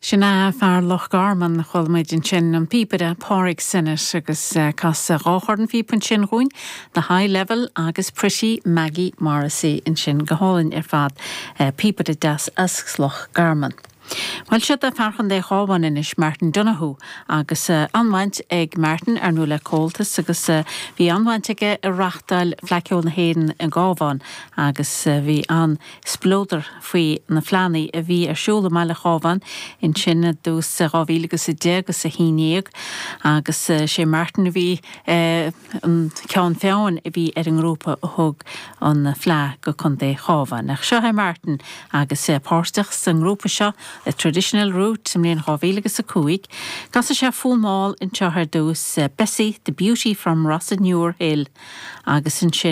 Sin é fear Loch Garman, chuala muid ansin an píobaire Pádraig Synnott agus casadh dhá chornphíopa ansin dhúinn, The High Level agus Pretty Maggie Morrissey ansin go hálainn ar fad, píobaire deas as Loch Garman. Bhuel, siod é fear Chontae Chabháin anois, Martin Donohoe, agus an-bhaint ag Martin ar ndóigh le Comhaltas agus bhí an-bhaint aige i reachtáil Fleadh Cheoil na hÉireann i gCábhán agus bhí an spleodar faoi na fleánna a bhí ar siúl i mbaile Chábháin ansin i dtús 2000 agus 10 agus 11 agus sé Martin a bhí an ceann feadhain a bhí ar an ngrúpa a thug an Fleadh go Contae Chábháin. Ach seo é Martin agus é páirteach sa ngrúpa seo, The Traditional Route, sa mbliain 2005. Casfaidh sé fonn mall anseo ar dtús, Bessie, the Beauty from Rossinure Hill, agus ansin.